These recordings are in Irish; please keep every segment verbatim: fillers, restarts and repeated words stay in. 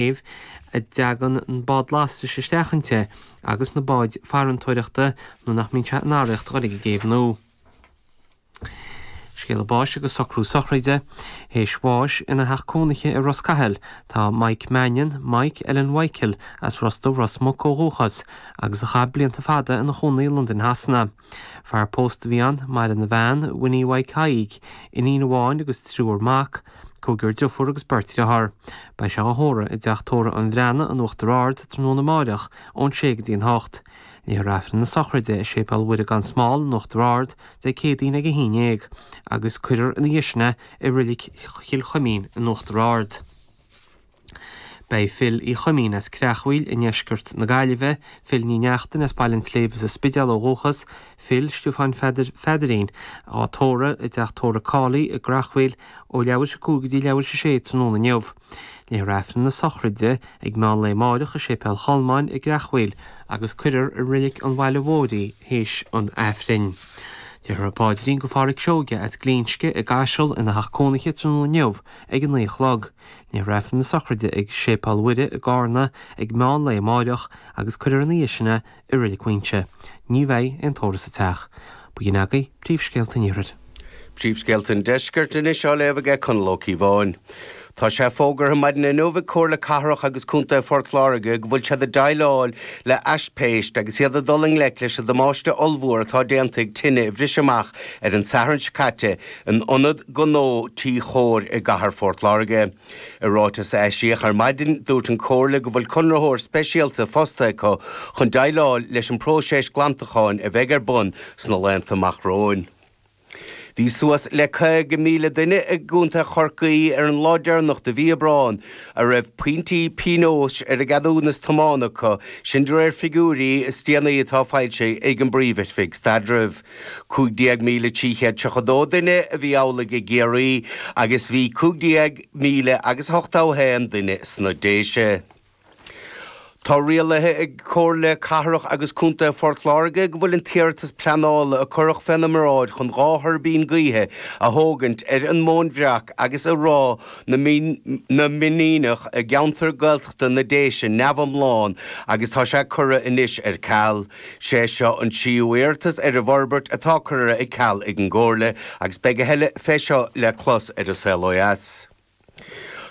céibh a dtagann an bád lastais isteach inti agus na báid farantóireachta nó nach mbíonn sé in araíocht a dhul ag an gcéibh nua. Scéala báis agus socrú sochraide. Théis bháis ina theach cónaithe i Ros Cathail tá Mike Mannion, Mike Ellen Mhichael, as Ros Dubh, Ros Muc ó dhúchas, agus a chaith blianta fada ina chónaí i Londain Shasana. Fear pósta a bhí ann, maireann a bhean, Winnie Mhaidhc Thaidhg, iníon amháin agus triúr mac, cúigear deirfiúr agus beirt dearthár. Beidh sé á thórramh i dteach tórraimh an Bhreathnaigh in Uachtar Ard tráthnóna amáireach ón sé go dtí an hocht. Léifear Aifreann na sochraide i Séipéal Mhuire gan Smál in Uachtar Ard Dé Céadaoin ag a haon déag agus cuirfear ina dhiaidh sin é i Reilig Chill Chuimín in Uachtar Ard. Beidh Phil Uí Chuimín as Creachmhaoil i ndeisceart na Gaillimhe, Phil Ní Neachtain as Baile an tSléibhe sa Spidéal ó dhúchas, Phil Stiofáin Pheadair Pheadairín, á tórramh i dteach tórraimh Cawley i gCreachmhaoil ó leathuair tar éis a cúig go dtí leathuair tar éis a sé tráthnóna inniu. Léifear Aifreann na sochraide ag meán lae amáireach i Séipéal Cholmáin i gCreachmhaoil agus cuirfear i Reilig an Bhaile Mhóir í théis an Aifrinn. Déarfar an paidrín do Pháraic Seoige as Glinsce i gCaiseal ina theach cónaithe tráthnóna inniu ag a naoi a chlog. Léifear Aifreann na sochraide ag Séipéal Mhuire i gCarna ag meán lae amáireach agus cuirfear ina dhiaidh sin é i Reilig Mhuinseo. Ní bheidh aon tórramh sa teach. B'in agaibh príomhscéalta an Iarthair. Príomhscéalta an Deiscirt anois á léamh aige Conall Ó Cíobháin. Tá sé fógartha maidin inniu ag Comhairle Cathrach agus Contae Phort Láirge go bhfuil siad ag déileáil le haispeist agus iad ag dul i ngleic leis an damáiste ollmhór atá déanta ag tine a bhris amach ar an Satharn seo caite in ionad gnó Tí Chóir i gcathair Phort Láirge. I ráiteas a eisíodh ar maidin, dúirt an Chomhairle go bhfuil conraitheoir speisialta fostaithe acu chun déileáil leis an bpróiseas glantacháin a bheidh ar bun sna laethanta amach romhainn. Bhí suas le caoga míle duine i gContae Chorcaí ar an lá deireanach de mhí Aibreán a raibh pointí pionóis ar a gceadúnas tiomána acu, sin de réir figiúirí is déanaí atá foilsithe ag an bPríomh-Oifig Staidrimh. Cúig déag míle trí chéad tríocha dó duine a bhí amhlaidh i gCiarraí agus bhí cúig déag míle agus ochtó a haon duine sna Déise. Tá rialaithe ag Comhairle Cathrach agus Contae Phort Láirge go bhfuil an t-iarratas pleanála a cuireadh féna mbráid chun dhá thuirbín gaoithe a thógaint ar an Móin Bhreac agus i Ráth na Mionnaoineach i gceantar Gaeltachta na Déise neamhiomlán agus tá sé curtha anois ar ceal. Sé seo an tríú iarratas ar an bhforbairt atá curtha ag ceal ag an gComhairle agus beidh a thuilleadh fé seo le clos ar An Saol Ó Dheas.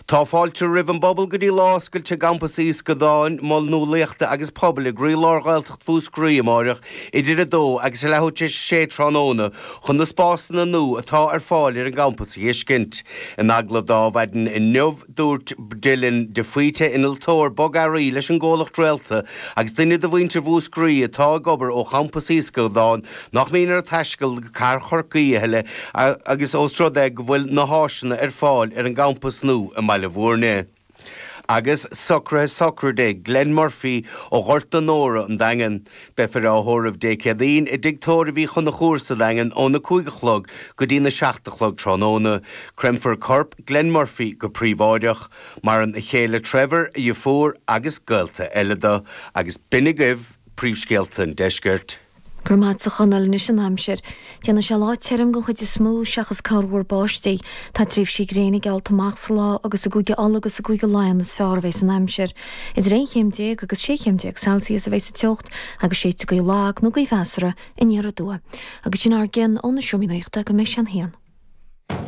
Tá fáilte roimh an bpobal go dtí lá oscailte i gCampas Uí Scannáin, Mol Nuálaíochta agus Pobail i gcroílár Ghaeltacht Mhúscraí amáireach idir a dó agus a leathuair tar éis a sé tráthnóna chun na spásanna nua atá ar fáil ar an gcampas a fheiscint. In agallamh do Adhmhaidin inniu, dúirt Dylan de Faoite, innealtóir bogearraí leis an gcomhlacht Réalta agus duine de mhuintir Mhúscraí atá ag obair ó champas Uí Scannáin, nach mbíonn air taisteal go cathair Chorcaí a thuilleadh agus ós rud é go bhfuil na háiseanna ar fáil ar an gcampas nua i mBaile Bhúirne. Agus socruithe sochraide Glenn Murphy ó Ghort na Nóra, an Daingean. Beifear á thórramh Dé Céadaoin i dTigh Tórraimh Uí Chonchúir sa Daingean óna cúig a chlog go dtí na seacht a chlog tráthnóna. Creimfear corp Glenn Murphy go príobháideach. Maireann a chéile Trevor, a dheirfiúr agus gaolta eile dó. Agus b'in agaibh príomhscéalta an deiscirt. Go raibh maith agat a Chonaill. Anois an aimsir. Déanfaidh sé lá tirim den chuid is mó seachas corrmhúr báistí. Tá tréimhsí gréine geallta amach sa lá agus i gCúige Uladh agus i gCúige Laighean is fearr a bheas an aimsir. Idir aon chéim déag agus sé chéim déag Celsius a bheas an teocht agus séidfidh gaoth lag nó gaoth mheasartha aniar aduaidh. Agus sin ár gcionn ó na Seomraí Nuachta go mbeidh sé an haon.